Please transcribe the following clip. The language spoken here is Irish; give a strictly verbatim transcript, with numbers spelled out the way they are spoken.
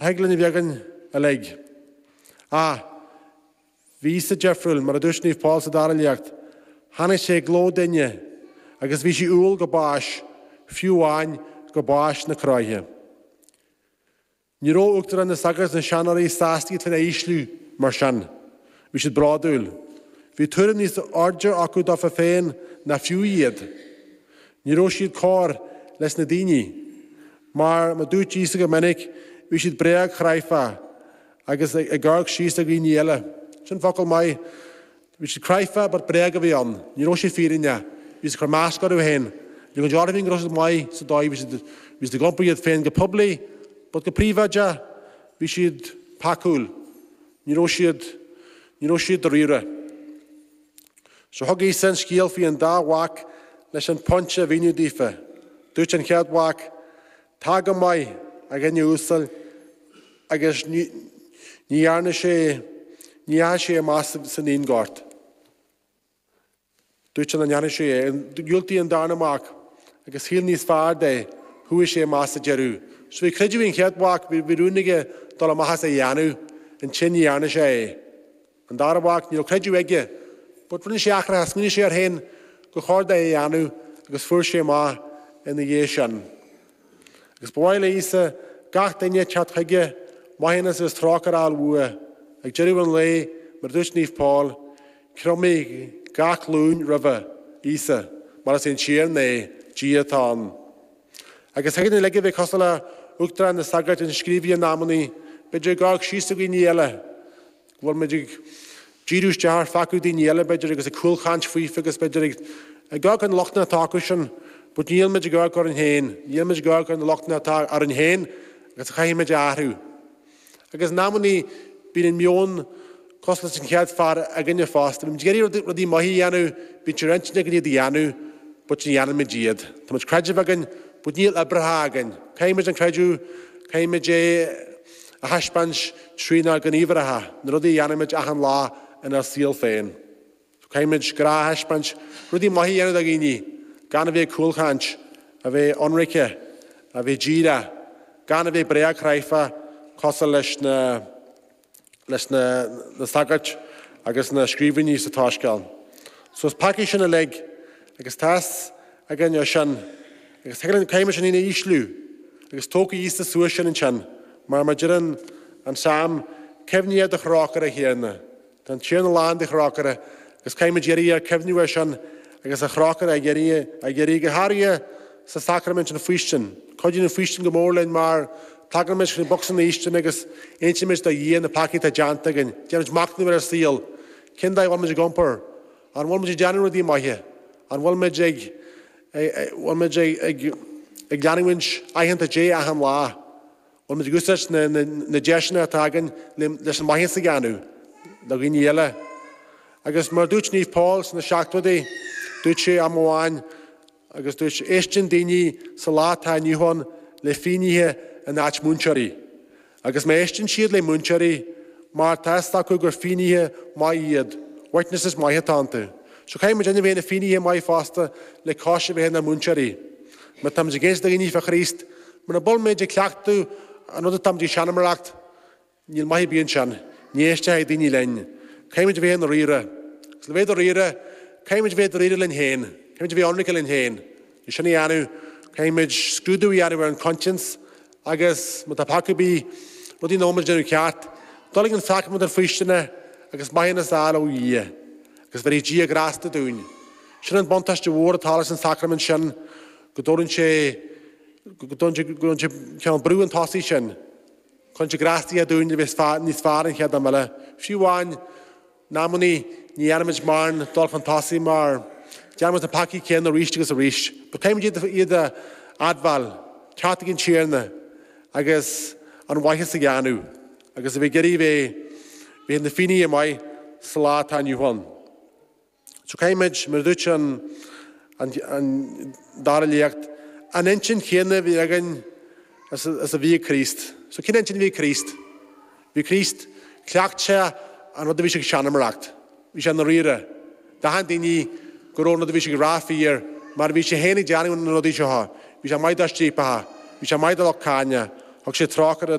a thig linn a bheith againn uilig. Ah, bhí Íosa difriúil mar a dúirt Naomh Paul sa dara léacht. Tháinig sé i gcló duine agus bhí sé umhal go bás, fiú amháin go bás na croiche. Ní raibh uachtarán na sagart na seanóirí sásta iad féin a ísliú mar sin. Bhí siad bródúil. Bhí tuairim níos airde acu dóibh féin ná fiú iad. Ní raibh siad cóir leis na daoine, mar mar dúirt Íosa go minic bhí siad bréagchráifeach agus ag amharc síos ar dhaoine eile. Sin focal maith bhí siad cráifeach but bréag a bhí ann, ní raibh sé fírinne, bhí siad ag cur masc orthu féin. Ní go dearbhín go raibh maith sa dóigh bhí siad bhí siad ag iompar iad féin go poiblí, but go príobháideach bhí siad peacúil. Ní raibh siad ní raibh siad dáiríre. So thug Íosa an scéal faoi an dá mhac leis an pointe a mhíniú daofa. Dúirt an chéad mhac, Tá go maith a dhuine uasail agus ní dhearna sé ní dheachaigh sé amach san fhíonghort. Dúirt an dhearna sé é, dhiúltaigh an darna mac agus shíl níos fearr de chuaigh sé amach sa deireadh. So bhí creideamh an chéad mhac bhí rún aige dul amach as a dhéanamh ansin ní dhearna sé é. An dara mhac ní raibh creideamh aige, but rinne sé athraithe smaoinigh sé air féin gur chóir dó é a dhéanamh agus fuair sé amach ina dhiaidh sin. Agus ba mhaith le Íosa gach duine teacht chuige maithiúnas agus trócaire a fháil uaidh, ag deireadh an lae mar dúirt Naomh Paul, cromfaidh gach glúin roimhe Íosa, mar is é an Tiarna é Dia atá ann. Agus thig linn a bheith cosúil le uachtarán na sagart na scríobhaithe in amannaí, b'fhéidir ag amharc síos ar dhaoine eile, go bhfuil muid ag díriú isteach ar pheacaí daoine eile b'fhéidir agus ag cúlchaint faofa agus b'fhéidir ag ag amharc ar na lochtanna atá acu sin, but níl muid ag amharc orainn féin, níl muid ag amharc ar na lochtanna atá orainn féin agus chaithfidh muid a athrú. Agus in amannaí bíonn an meon cosúil leis an chéad fear againne fosta, Bímid ag iarraidh rudaí maithe a dhéanamh, bíonn sé ar intinn againn iad a dhéanamh, but ní dhéanaimid iad. Tá muid creideamh againn, but níl oibreacha againn. Caithfimid an creideamh, caithfimid é a thaispeáint trínár ngníomhartha, na rudaí a dhéanaimid achan lá inár saol féin. Caithfimid grá a thaispeáint rudaí maithe a dhéanamh do dhaoine, gan a bheith cúlchaint, a bheith ionraic, a bheith díreach, gan a bheith bréagchráifeach cosúil leis na leis na, na sagairt agus na scríbhní sa tSoiscéal. So is peacaí sinn uilig agus tá's againn sin agus caithfimid sinn féin a ísliú agus tógfaidh Íosa suas sinn ansin mar mar deireann an Salm cuimhnigh ar do thrócaire a Thiarna. Tá an Tiarna lán de thrócaire agus caithfimid iarraidh ar cuimhniú ar sin agus a thrócaire ag iarraidh ag iarraidh go háirithe sa sacraimint an faoistin. Cuidíonn an faoistin go mór linn mar tagaimid chun bocsa na faoistine agus insímid do Dhia na peacaí atá déanta againn, Déanaimid machnamh ar ár saol, cén dóigh a bhfuil muid ag iompar, an bhfuil muid ag déanamh rudaí maithe, an bhfuil muid ag bhfuil muid ag ag ag leanúint aitheanta Dé achan lá. Bhfuil muid ag úsáid na, na, na deiseanna atá againn leis an maitheas a dhéanamh le dhaoine eile. Agus mar dúirt Naomh Paul sna seachtóidí, dúirt sé am amháin agus dúirt éisteann daoine sa lá atá inniu ann le finnéithe in áit múinteoirí. Agus má éisteann siad le múinteoirí mar tá a fhios acu gur finnéithe maith iad, witnesses maith atá iontu. So caithfimid a bheith ina finnéithe maith fosta le cois a bheith ina múinteoirí. Má táimid ag insint do dhaoine fá Chríost, mura bhfuil muid ag cleachtadh an rud atáimid ag seanmóireacht, níl maith ar bith ansin, ní éistfidh daoine linn. Caithfimid a bheith dáiríre. Agus le bheith dáiríre, caithfimid a bheith dáiríre linn féin, Caithfimid a bheith ionraic linn féin. É sin a dhéanamh, caithfimid scrúdú a dhéanamh ar an conscience agus má tá peaca ar bith rudaí nach bhfuil muid déanamh ceart, dul ag an sacraimint an faoistine agus maithiúnas a fháil ó Dhia, agus bheirfidh Dia grásta dúinn. Sin an buntáiste mhór atá leis an sacraimint sin go dtabharann sé go dtabharann sé ceann brú an tosaigh sin. Chun sé grástaithe dúinn a bheith níos fearr an chéad am eile. Fiú amháin in amannaí ní dhéanaimid mórán dul chun tosaigh mar déanaimid na peacaí céanna arís agus arís. But caithfimid iad a admháil, teacht ag an Tiarna agus an mhaitheas a dhéanamh, agus a bheith ag iarraidh bheith bheith na finnéithe maith sa lá atá inniu ann. So caithfimid mar dúirt an, an, an dara léacht, an intinn chéanna a bhí againn is, is a bhí ag Críost. So cén intinn a bhí ag Críost? Bhí Críost chleacht sé an rud a bhí sé ag seanmóireacht. Bhí sé dáiríre. D'aithin daoine go raibh an rud a bhí sé ag rá fíor, mar bhí sé féin ag déanamh na rudaí seo. Bhí sé maith do striapacha, bhí sé maith do lucht cáinte, thug sé trócaire